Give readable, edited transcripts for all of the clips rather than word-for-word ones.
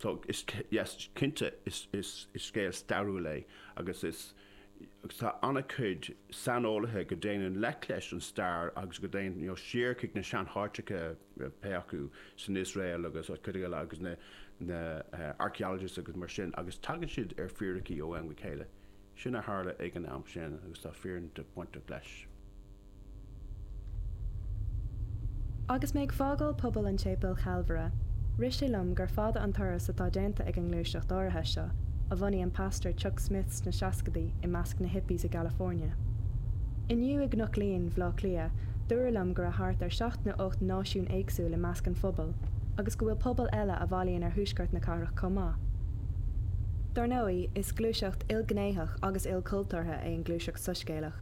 So is, yes, cinnte is, is, is scéal stairiúil é agus is, agus tá an-chuid saineolaithe go dtéann i ngleic leis an stair agus go dtéann, you know, siar chuig na seanháiteacha pé acu san Iosrael agus cuid eile agus na, na archaeologists agus mar sin agus tagann siad ar fíricí ó am go chéile. Sin a tharla ag an am sin agus tá fírinne bainteach leis. Agus mé ag fágáil pobal an tSéipéil Chalvaire, rith sé liom gur fada an turas atá déanta ag an ngluaiseacht áirithe seo, a bhunaigh an Pastor Chuck Smith sna seascadaí i measc na hippies i gCalifornia. Inniu i gCnoc Líon, Bhaile Átha Cliath, dúradh liom go raibh thart ar sheacht nó 8 náisiún éagsúil i measc an phobail, agus go bhfuil pobal eile a bhailíonn ar thuaisceart na cathrach chomh maith. Dar ndóigh, is gluaiseacht ilghnéitheach agus ilchultúrtha é an ghluaiseacht soiscéalach,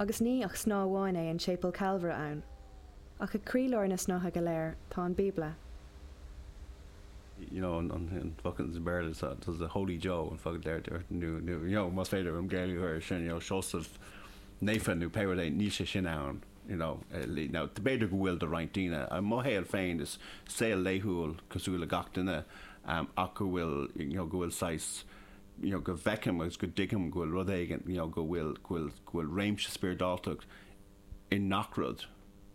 agus ní ach snáth amháin é an Séipéal Calvaire ann. Ach ag croílár na snáithe go léir, tá an Bíobla. You know, an focal sa Bhéarla tá the Holy Joe an focal deir nó nó you know más féidir an Gaeilge a chur air sin you know Seosamh Naofa nó pé rud é níl sé sin ann you know now b'fhéidir go bhfuil do roinnt daoine. I mo shaol féin is saol laethúil cosúil le gach duine ach go bhfuil you know go bhfuil saghas you know go bhfeicim agus go dtuigim go bhfuil rud éigin you know go bhfuil go bhfuil go bhfuil réimse spioradáltacht i ngach rud.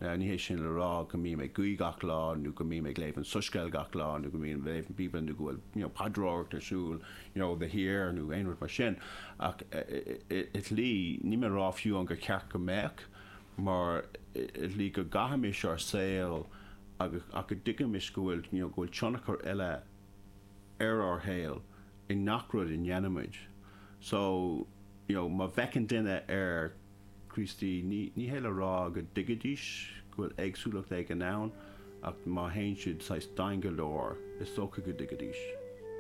Now ní hé sin le rá go mbím ag guí gach lá nó go mbím ag léamh an Soiscéal gach lá nó go mbím ag léamh an Bíobla nó go bhfuil you know paidreoireacht ar siúl you know de shíor nó aon rud mar sin ach i slí níl mé ag rá fiú an gur ceart go mbeadh mar i slí go gcaithimis ár saol agus ach go dtuigimis go bhfuil you know go bhfuil tionchar eile ar ár shaol i ngach rud a ndéanaimid. So you know má bhfeiceann duine ar Críostaí, ní ní hé le rá go dtuigfidís go bhfuil éagsúlacht éigin ann ach má théann siad saghas domhain go leor is dócha go dtuigfidís.